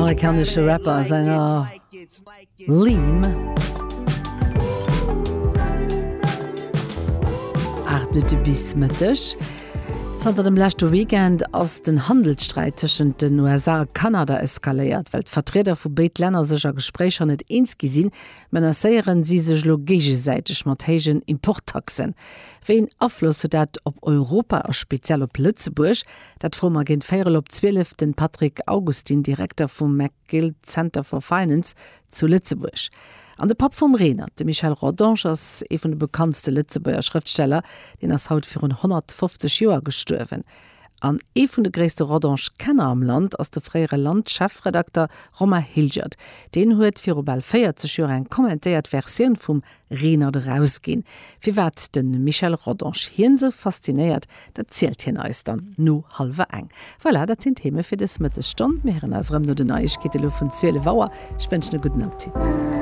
Amerikanesche Rapper a Sänger Lean. 8 Minutte bis Mëtteg. Zanter dem leschte Weekend ass den Handelssträit tëschent den USA a Kanada eskaléiert. Well d'Vertrieder vu béid Länner sech a Gespréicher net eens gi sinn, menacéieren si sech elo géigesäiteg mat héijen Importtaxen. Wéi een Afloss huet dat op Europa a speziell op Lëtzebuerg? Dat froe mer géint véierel op 12 den Patrick Augustin, Direkter vum McGill Center for Finance zu Lëtzebuerg. An de Papp vum Renert, de Michel Rodange, ass ee vun de bekanntste Lëtzebuerger Schrëftsteller. Deen ass haut virun 150 Joer gestuerwen. An ee vun de gréisste Rodange-Kenner am Land ass de fréiere Land-Chefredakter Romain Hilgert. Deen huet viru bal 40 Joer eng kommentéiert Versioun vum Renert erausginn. Firwat de Michel Rodange hien esou faszinéiert, dat zielt hien eis dann no hallwer eng. Voilà, dat sinn d'Theme fir dës Mëttesstonn. Mir héieren eis erëm no den Neiegkeete lo vun 12 Auer. Ech wënschen e gudden Appetit.